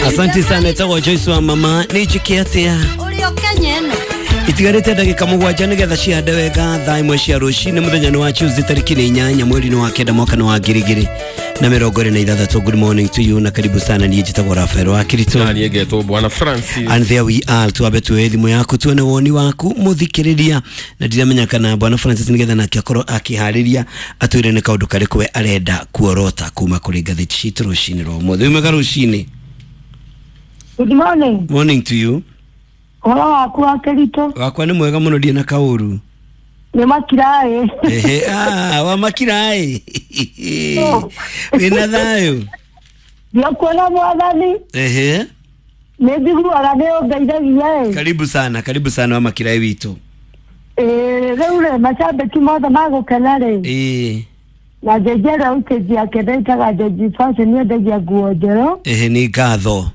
Asante sana etagwo Joyce wa mama nĩ njĩke atĩa itigarĩte ndagĩka 7 nĩgetha cihande wega thaa 1 cia rũcinĩ mũthenya nĩ wa Tuesday tarĩki nĩ 8 mweri nĩ wa 9 mwaka nĩ wa 2026. Good morning to you na karibu sana. Niĩ njĩtagwo Rafael wa Kirito na niĩ ngetwo Bwana Francis and there we are. Twambe tuoe thimũ yaku tuone woni waku mũthikĩrĩria, na ndiramenya kana Bwana Francis nĩgetha nake akorwo akĩharĩria atwĩre nĩ kaũndũ karĩkũ we arenda kuorota kuma kũrĩ ngathĩti citũ rũcinĩ rwa ũmũthĩ. Wĩ mwega rũcinĩ. Good morning. Morning to you. Ũhoro waku wa Kirito? Wakwa nĩ mwega mũno, ndirĩ na kaũru. Nĩ makiraĩ. Ehe, wa makiraĩ. Wĩna thayũ? Ndiokuona mwathani. Ehe. Nĩ njiguaga nĩ ũngeithagia ĩ. Karibu sana, karibu sana wa makiraĩ witũ. Ĩĩ, rĩu rĩ macambĩki mothe magũkena rĩ. Ĩĩ. Na Njenji ĩrĩa ũkĩnji yake ndĩtaga Njenji Fashion yendagia nguo njerũ. Ehe, nĩ ngatho.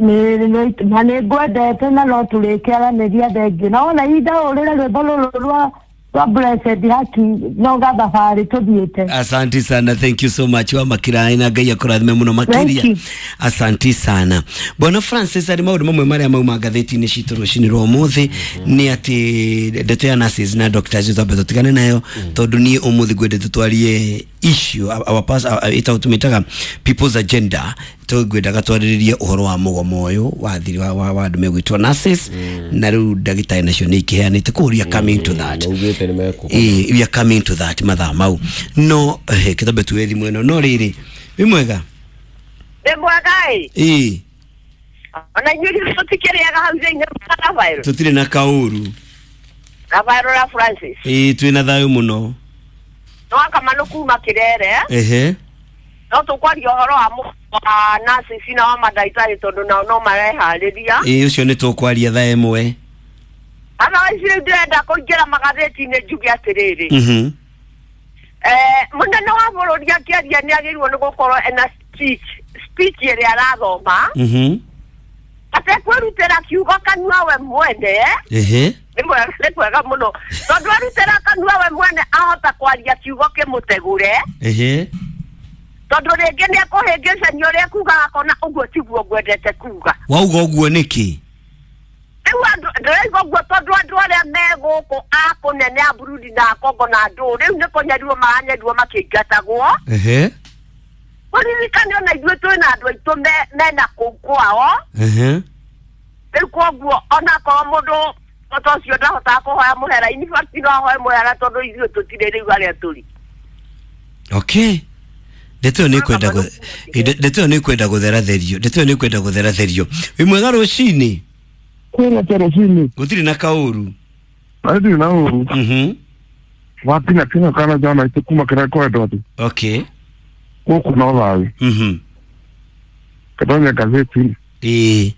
Na nĩ ngwendete na no tũrĩkĩaranĩria thengiũ. Na wona indaũrĩre rwĩmbo rũrũ rwa Blessed Haki no gathabarĩ tũthiĩte. Asante sana, thank you so much wa makiraĩ na Ngai akũrathime mũno makĩria. Asante sana Bwana Francis. Arĩ maũndũ mamwe marĩa mauma ngathĩti-inĩ citũ rũcinĩ rwa ũmũthĩ nĩ atĩ ndeto ya nurses na doctors twambe tũtigane nayo tondũ niĩ ũmũthĩ ngwendete twarie issue our pass ĩtagwo tũmĩtaga people's agenda. Tũngwendaga twarĩrĩrie ũhoro wa mũgomo ũyũ wa thiri wa andũ megwĩtwo nurses na rĩu ndagĩtarĩ nacio nĩ ikĩheanĩte koguo we are coming to that. We are coming to that mathaa mau no kĩtambe tuwe thimũ ĩno no rĩrĩ wĩ mwega. Nĩ mwega ĩ. Ĩĩ. Ona inyuĩ tũtikĩrĩaga hau thĩinĩ Rafael. Tũtirĩ na kaũru. Rafael na Francis. Ĩĩ twĩna thayũ mũno. No akamano kuma Kĩrere. Ehe. No tũkwaria ũhoro wa nurses na wa mandagĩtarĩ tondũ nao no mareharĩria. Ĩĩ ũcio nĩ tũkwaria thaa 1. Ana ici rĩu ndĩrenda kũingĩra magathĩti-inĩ njuge atĩrĩrĩ. Mũnene wa bũrũri akĩaria nĩ agĩrĩirwo nĩ gũkorwo ena speech ĩrĩa arathoma. Atekwĩrutĩra kiugo kanua we mwene. Ehe. Nĩ kwega mũno tondũ arutĩra kanua we mwene ahota kwaria kiugo kĩmũtegũre. Ehe. Tondũ rĩngĩ nĩ ekũhĩngĩcania ũrĩa ekugaga akona ũguo tiguo ngwendete kuga. Wauga ũguo nĩkĩ? Rĩu andũ ndĩraigua ũguo tondũ andũ arĩa me gũkũ a kũnene a Burundi na a Congo na andũ rĩu nĩ kũnyarirwo maranyarirwo makĩingatagwo. Ehe. Kũririkane ona ithuĩ twĩna andũ aitũ mena kũu kwao. Ehe. Rĩu koguo onakorwo mũndũ ta ũcio ndahotaga kũhoya mũhera, in fact no ahoe mũhera tondũ ithuĩ tũtirĩ rĩu arĩa tũrĩ. Okay. Ndeto ĩyo nĩ kwenda gũtheratherio. Ndeto ĩyo nĩ kwenda gũtheratherio. Wĩ mwega rũcinĩ? Kwĩna ta rũcinĩ. Gũtirĩ na kaũru. Ndirĩ na ũru. Wakinya kinya kana jana itũ kuma kĩrĩa kwendwo atĩ. Okay. Gũkũ no thayũ. Katonya ngathĩti. Ĩĩ.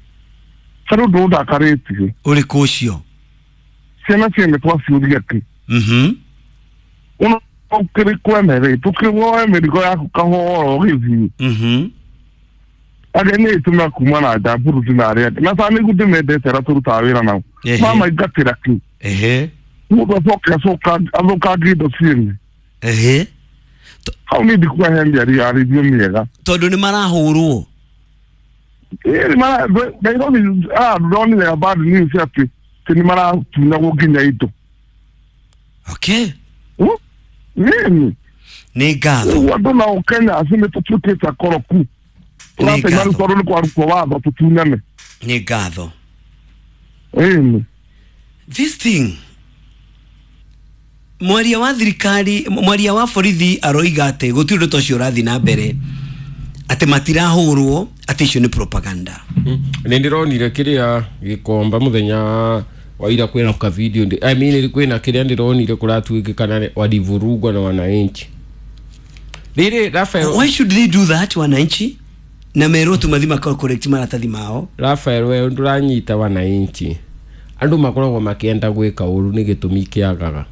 Harĩ ũndũ ũndakarĩtie. Ũrĩkũ ũcio? Ciana ciene twaciũria kĩ. Ũno ũkĩrĩ kwene rĩ, tũkĩwoe mĩrigo yaku kahora ũgĩthiĩ. Arĩa nĩ ĩtũma kuma na nja Burundi na arĩa angĩ. Na ta nĩguo ndĩmendete arĩa tũrutaga wĩra nao. Mamaingatĩra kĩ. Ehe. Mũndũ acoke athũkangie indo ciene. Ehe. Hau nĩ ndikuahe mĩario ya rĩthio mĩega. Tondũ nĩ marahũrwo. Ĩĩ Nairobi ndonire bad news atĩ nĩ maratunyagwo nginya indo. Okay. Nini? Nĩ ngatho. Rĩu andũ nao Kenya acio nĩ tũtuĩkĩte akoroku. Tũratema rĩu tondũ nĩ kwarutwo watho tũtunyane. Nĩ ngatho. Ĩni. This thing mwaria wa thirikari, mwaria wa borithi aroiga atĩ gũtirĩ ũndũ ta ũcio ũrathiĩ na mbere, atĩ matirahũrwo, atĩ icio nĩ propaganda. Nĩ ndĩronire kĩrĩa gĩkomba mũthenya wa ira kwĩna ka video I mean kwĩna kĩrĩa ndĩronire kũratuĩkĩkana walivurugwa na wananchi. Rĩrĩ Rafael, why should they do that wananchi? Na merwo tu mathi makao correct maratathi mao. Rafael we ndũranyita wananchi. Andũ makoragwo makĩenda gwĩka ũru nĩ gĩtũmi kĩagaga.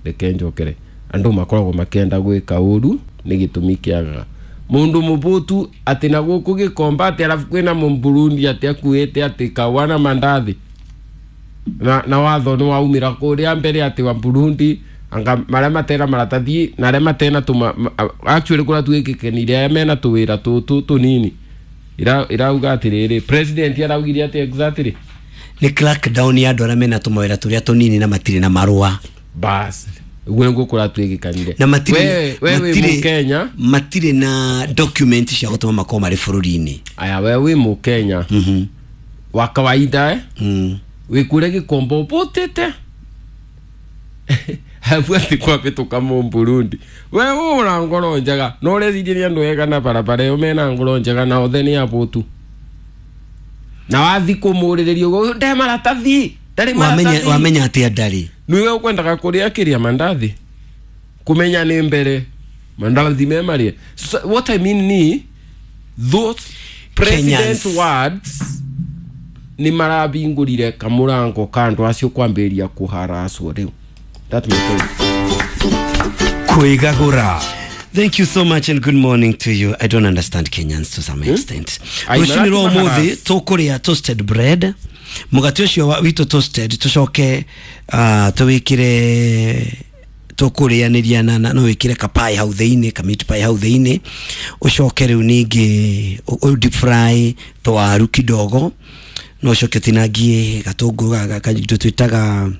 Reke njokere. Andũ makoragwo makĩenda gwĩka ũru nĩ gĩtũmi kĩagaga. Mũndũ mũbũtu atĩ na gũkũ gĩkomba atĩ arabu kwĩna Mũburundi atĩ akuĩte atĩ kawa na mandathi. Na watho nĩ waumĩra kũrĩa mbere atĩ wa Burundi anga marĩa matena maratathi na arĩa matena tũma actually kũrĩa tuĩkĩkenire arĩa mena tũwĩra tũtũ tũnini Irauga atiriri president araugire ati exactly ni crackdown ya andũ arĩa mena tũmawĩra tũrĩa tũnini na matirĩ na marũa. Bas ũguo nĩguo kũratuĩkĩkanire na matirĩ we wĩ Mũkenya matirĩ na document cia gũtũma makorwo marĩ bũrũri-inĩ. Aya we wĩ Mũkenya wa kawaida wĩ kũrĩa Gĩkomba ũpũtĩte habu ati kwabĩtũka Mũburundi we ũra ngoro njega no ũreciria nĩ andũ ega na barabara ĩyo mena ngoro njega na othe nĩ abũtu na wathi kũmũrĩrĩria ũguo nde maratathi ndarĩ maratathi wamenya atĩa ndarĩ nĩwe ũkwendaga kũrĩa kĩrĩa mandathi kũmenya nĩ mbere mandathi me marĩa. So, what I mean ni those president Kenyans. Words nĩ marabingũrire kamũrango ka andũ acio kwambĩrĩria kũharacwo rĩu. That my point. Kwĩgagũra. Thank you so much and good morning to you. I don't understand Kenyans to some extent. Rũcinĩ rwa ũmũthĩ tũkũrĩa toasted bread. Mũgate ũcio witũ toasted tũcoke tũwĩkĩre tũkũrĩanĩria na no wĩkĩre ka pie hau thĩinĩ, ka meat pie hau thĩinĩ. Ũcoke rĩu ningĩ deep fry tũwaru kidogo. No ũcoke ũtinangie gatũngũrũ gaka twĩtaga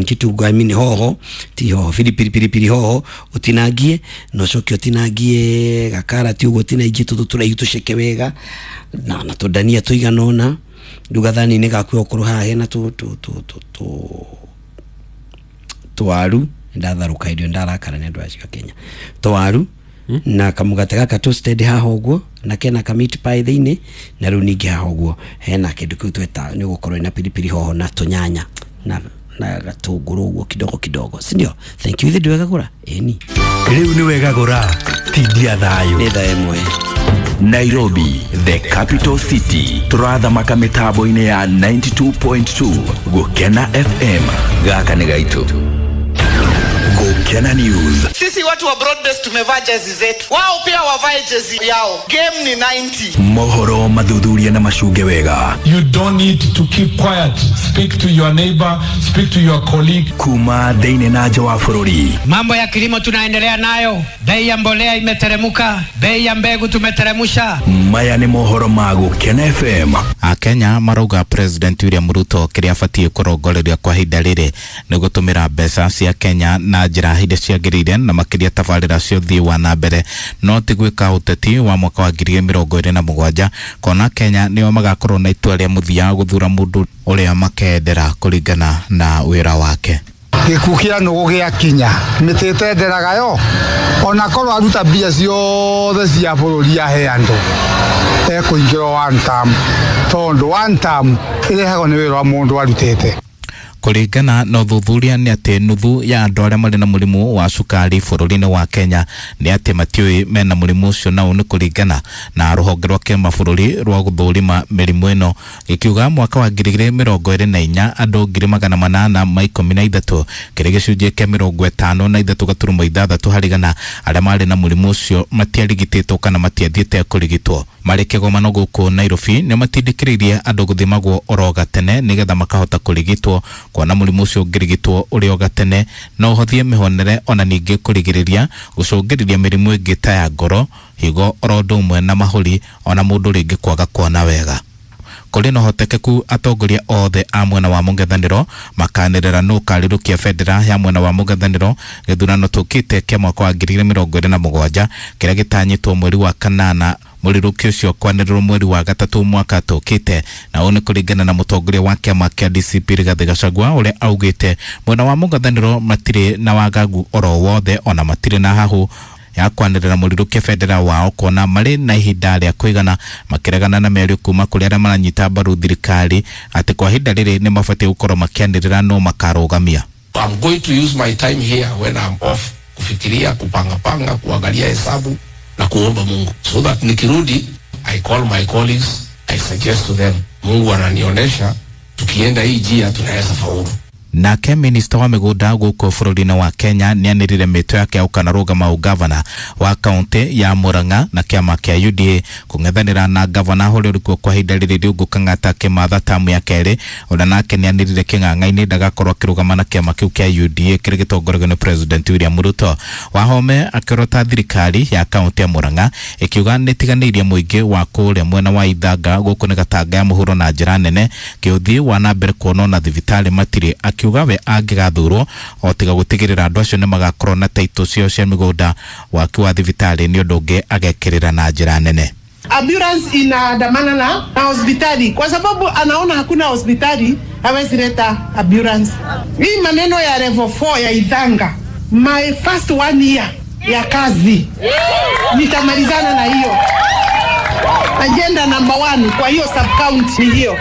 kitungu, I mean hoho, ti hoho, pilipili hoho utinangie no coke utinangie gakarati uguo utinangie tutũ tũraihu tũceke wega na tũndania tũigana ũna rĩu gathani-inĩ gaku okorwo haha hena tũwaru ndatharũka irio ndarakara nĩ andũ acio a Kenya tũwaru na kamũgate gaka toasted haha ũguo na kena ka meat pie thĩinĩ na rĩu ningĩ haha ũguo hena kĩndũ kĩu tweta nĩ ũgũkorwo na pilipili hoho na tũnyanya na gatũngũrũ ũguo kidogo kidogo, si ndio? Thank you. Ithe ndiwegagũra ĩni rĩu nĩ wegagũra tindia thayũ nĩ thaa ĩmwe. Nairobi, the capital city, tũrathamaka mĩtambo-inĩ ya 92.2 Gũkena FM. Gaka nĩ gaitũ. Gũkena News. Sisi watu wa broadbase tumevaa jezi zetu, wao pia wavae jezi yao. Game ni 90. Mohoro mathuthuria na macunge wega. You don't need to keep quiet. Speak to your neighbor, speak to your colleague. Kuma thĩinĩ na nja wa bũrũri. Mambo ya kilimo tunaendelea nayo. Bei ya mbolea imeteremuka, bei ya mbegu tumeteremusha. Maya nĩ mohoro ma Gũkena FM. Akenya marauga President William Ruto kĩrĩa abatiĩ kũrongoreria kwa ihinda rĩrĩ nĩ gũtũmĩra mbeca cia Kenya na njĩra hĩndĩ ciagĩrĩire na makĩria tabarĩra cia ũthii wa na mbere no ti gwĩka ũteti wa mwaka wa 2027 kona Kenya nĩo magakorwo na itua rĩa mũthia gũthura mũndũ ũrĩa makendera kũringana na wĩra wake. Gĩkuũ kĩa nũgũ gĩakinya mĩtĩ ĩtenderaga yo ona korwo aruta mbia ciothe cia bũrũri ahe andũ ekũingĩrwo one term tondũ one term ĩrehagwo nĩ wĩra wa mũndũ arutĩte. Kũringana na ũthuthuria nĩ atĩ nuthu ya andũ arĩa marĩ na mũrimũ wa cukari bũrũri-inĩ wa Kenya nĩ atĩ matiũĩ mena mũrimũ ũcio na ũũ nĩ kũringana na rũhonge rwa kĩmabũrũri rwa gũthũrima mĩrimũ ĩno gĩkiuga mwaka wa 2024 andũ 813 kĩrĩ gĩcunjĩ kĩa 53.6 harĩ igana arĩa marĩ na mũrimũ ũcio matiarigitĩtwo kana matiathiĩte kũrigitwo. Marĩ kĩgomano gũkũ Nairobi nĩ matindĩkĩrĩirie andũ gũthimagwo oro gatene nĩgetha makahota kũrigitwo kuona mũrimũ ũcio ũngĩrigitwo ũrĩ o gatene no ũhothie mĩhonere ona ningĩ kũrigĩrĩria gũcũngĩrĩria mĩrimũ ĩngĩ ta ya ngoro, higo oro ũndũ ũmwe na mahũri ona mũndũ rĩngĩ kwaga kuona wega. Kũrĩ na ũhotekeku atongoria othe a mwena wa mũng'ethanĩro makanĩrĩra nũ ũkarĩrũkia bendera ya mwena wa mũng'ethanĩro gĩthurano tũkĩte kĩa mwaka wa 2027 kĩrĩa gĩtanyĩtwo mweri wa kanana mũrirũki ũcio kwanĩrĩrwo mweri wa gatatũ mwaka tũkĩte na ũũ nĩ kũringana na mũtongoria wa kĩama kĩa DCP Rigathĩ Gachagua ũrĩa augĩte mwena wa mũng'ethanĩro matirĩ na wagagu oro wothe ona matirĩ na hahũ ya kwanĩrĩra mũrirũkia bendera wao kuona marĩ na ihinda rĩa kũigana makĩregana na mĩario kuma kũrĩ arĩa maranyita mbaru thirikari atĩ kwa ihinda rĩrĩ nĩ mabatiĩ gũkorwo makĩanĩrĩra no makarũgamia. I'm going to use my time here when I'm off kufikiria, kupanga panga, kuangalia hesabu na kuomba Mungu so that nikirudi I call my colleagues, I suggest to them, Mungu ananionyesha tukienda hii njia tunaweza faulu. Nake minista wa mĩgũnda gũkũ bũrũri-inĩ wa Kenya nĩanĩrĩire mĩtwe yake ya gũkanarũgama ũgavana wa kaunti ya Murang'a na kĩama kĩa UDA kũng'ethanĩra na gavana ũrĩa ũrĩkuo kwa ihinda rĩrĩ Riũngũ Kang'ata Kĩmatha tamu ya kerĩ, ona nake nĩanĩrĩire kĩng'ang'a-inĩ ndagakorwo akĩrũgama na kĩama kĩu kĩa UDA kĩrĩa gĩtongoragio nĩ President William Ruto. Wahome akĩrota thirikari ya kaunti ya Murang'a ĩkiuga nĩtiganĩirie mũingĩ wa kũrĩa mwena wa Ithanga gũkũ nĩ Gatanga ya mũhuro na njĩra nene kĩũthiĩ wa na mbere kuonwo na thibitarĩ matirĩ, akiuga we angĩgathurwo o tiga gũtigĩrĩra andũ acio nĩmagakorwo na taitũ ciao cia mĩgũnda, waki wa thibitarĩ nĩ ũndũ ũngĩ agekĩrĩra na njĩra nene. Ambulance inaandamana na hospitali kwa sababu anaona hakuna hospitali, hawezi leta ambulance. Hii maneno ya level 4 ya Ithanga, my first 1 year ya kazi nitamalizana na hiyo agenda number 1 kwa hiyo sub county ni hiyo.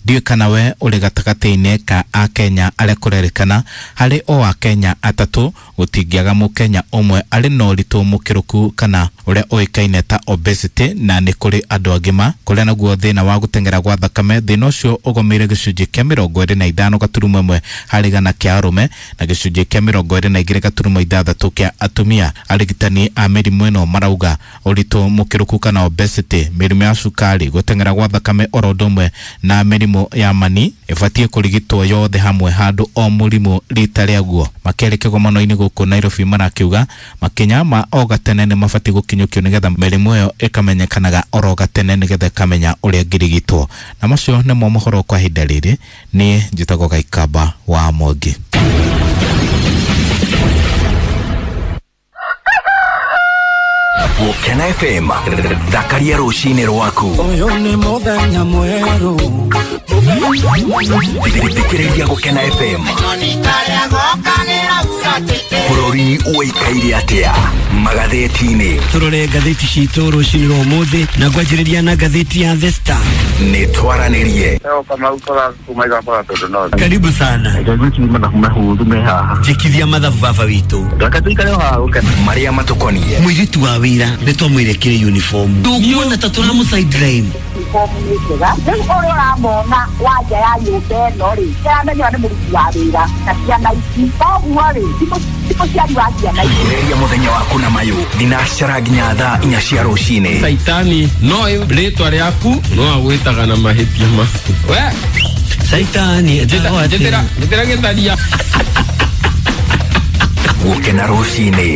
Ndiũĩ kana we ũrĩ gatagatĩ-inĩ ka Akenya arĩa kũrerĩkana harĩ o Akenya atatũ gũtingĩaga mũkenya ũmwe arĩ na ũritũ mũkĩrũku kana ũrĩa ũĩkaine ta obesity, na nĩ kũrĩ andũ agima kũrĩa naguo thĩna wa gũteng'era gwa thakame thĩna ũcio ũgomeire gĩcunjĩ kĩa 25.1 harĩ igana kĩa arũme na gĩcunjĩ kĩa 22.6 kĩa atumia. Arigitani a mĩrimũ ĩno marauga ũritũ mũkĩrũku kana obesity, mĩrimũ ya cukari, gũteng'era gwa thakame oro ũndũ ũmwe na mĩrimũ ya mani ĩbatiĩ kũrigitwo yothe hamwe handũ o mũrimũ rita rĩaguo. Makĩarĩ kĩgomano-inĩ gũkũ Nairobi marakiuga makinya ma o gatene nĩ mabatiĩ gũkinyũkio nĩgetha mĩrimũ ĩyo ĩkamenyekanaga oro gatene nĩgetha ĩkamenya ũrĩa ĩngĩrigitwo. Na macio nĩmo mohoro kwa ihinda rĩrĩ. Niĩ njĩtagwo Gaikamba wa Mwangi. Gũkena FM, thakaria rũcinĩ rwaku. Ũyũ nĩ mũthenya mwerũ. Thikĩrĩria Gũkena FM. Bũrũri ũikaire atĩa magathĩti-inĩ? Tũrore ngathĩti citũ rũcinĩ rwa ũmũthĩ na ngwanjĩrĩria na ngathĩti ya The Star. Nĩ twaranĩrie. Karibu sana. Njĩkithia mathabu baba witũ. Marĩa matũkoniĩ. Mũirĩtu wa wĩra nĩ twamwĩre kĩrĩ uniform. Ndũkuona ta tũramũ sideline. Uniform nĩ njega. Rĩu ũrĩa ũramona wa nja ya nyũmba ĩno rĩ, nĩaramenya nĩ mũruti wa wĩra na ciana ici. Koguo rĩ, ti mũciari wa ciana ici. Ambĩrĩria mũthenya waku na mayũ thinacara nginya thaa 4 cia rũcinĩ. Saitani no rĩtwa rĩaku no agwĩtaga na mahĩtia maku. We Saitani njĩtĩra gĩtharia. Gũkena rũcinĩ.